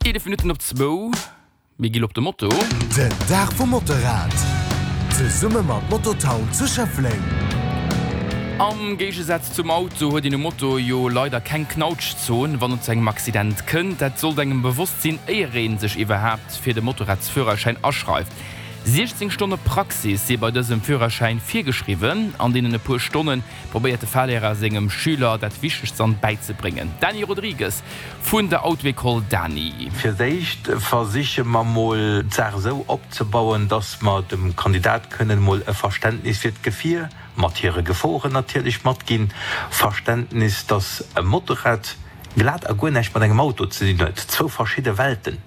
11 Minutten op zwou, mir gi lo op de Moto. Den Dag vum Motorrad, zesumme mat Mototown zu Schëffleng. Am Géigesaz zum Auto huet een um Moto jo leider keng Knautschzon, wann et zu engem Accident kënnt. Dat sollt engem bewosst sinn, éier ee sech iwwerhaapt fir de Motorradsführerschäin aschreift. 16 Stonne Praxis si bei dësem Führerschäin virgeschriwwen. An deenen e puer Stonne probéiert de Fahrlehrer sengem Schüler dat Wichtegst an bäizebréngen. Dany Rodrigues Vun der Auto-École Dany. Fir d'éischt versiche mer mol d'Saach esou opzebauen, dass mer dem Kandidat kënnen mol e Verständnis fir d'Gefier, mat hire Geforen natierlech, matginn. Verständnis, dass e Motorrad glat a guer näischt mat engem Auto ze dinn huet, zwou verschidde Welten.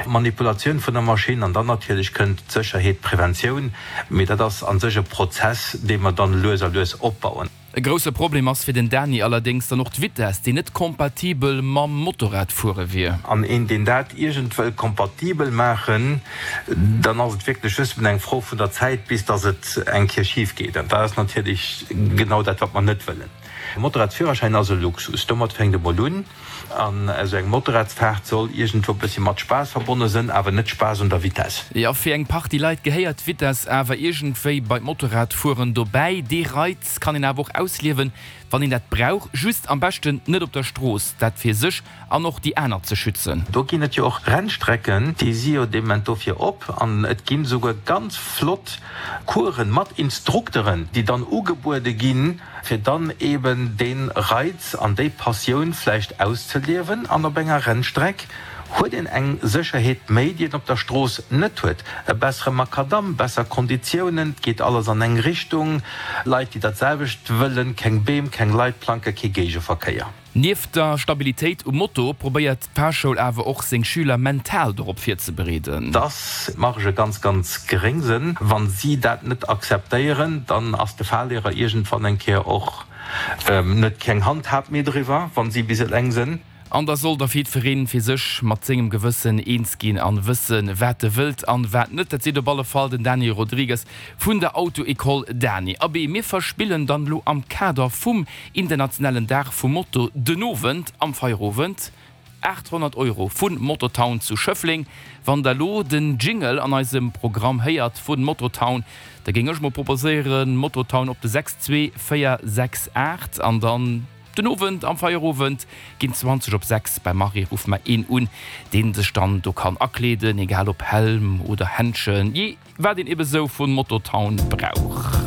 Manipulatioun vun der Maschinn an dann natierlech kënnt d'Sécherheet, d'Preventioun, mee dat ass a sech e Prozess, dee mer dann lues a lues opbauen. E grousse Problem ass fir den Dany allerdéngs dann och d'Vitess, déi net kompatibel mam Motorradfuere wier. An een, deen dat iergend wëll kompatibel maachen, dann ass et wierklech just eng Fro vun der Zäit, bis datt et eng Kéier schif geet. An dat ass natierlech genau dat, wat mer net wëllen. E Motorradsführerschäin ass e Luxus. Domat fänkt e mol un. An esou eng Motorradsfaart soll iergendwou e bëssi mat Spaass verbonne sënn, awer net Spaass un der Vitess. Jo, fir eng Partie Leit gehéiert d'Vitess awer iergendwéi bei d'Motorradfueren dobäi. Dee Reiz kann een awer och ausliewen, wann een dat brauch, just am beschten net op der Strooss, dat fir sech an och déi aner ze schützen. Do ginn et jo och Rennstrecken, déi si jo dee Moment dofir op an et ginn esouguer ganz flott Coursen mat Instrukteren, déi dann ugebuede ginn, fir dann eben dee Reiz an déi Passioun vläicht auszeliewen an op enger Rennstreck huet een eng Sécherheet méi, déi een op der Strooss net huet, e bessere Makadamm, besser Konditiounen, et geet alles an eng Richtung, Leit, déi dat selwecht wëllen, keng Beem, keng Leitplanke, kee Géigeverkéier. Nieft der Stabilitéit um Moto probéiert d'Fahrschoul awer och seng Schüler mental dorop virzebereeden. Dass d'Margë ganz, ganz geréng sënn. Wa si dat net akzeptéieren, dann ass de Fahrlehrer iergendwann eng Kéier och net keng Handhab méi driwwer, wa si bis eleng sënn. An da soll da jiddwereen fir sech mat sengem Gewëssen eens ginn an wëssen, wat e wëllt an wat net. Dat seet op alle Fall den Daniel Rodrigues vun der Auto-École Dani. Abee, mir verspillen dann elo am Kader vum internationalen Dag vum Moto den Owend am Feierowend 800 Euro vun Mototown zu Schëffleng. Wann der elo den Jingle an eisem Programm héiert vun Mototown, da géing ech mol proposéieren, Mototown op de 62468 an dann den Owend am Feierowend géint 20 op 6 beim Marie ruffe mer een un, deen sech dann do kann akleeden, egal ob Helm oder Händschen, jee wat een ebe sou vun Mototown brauch.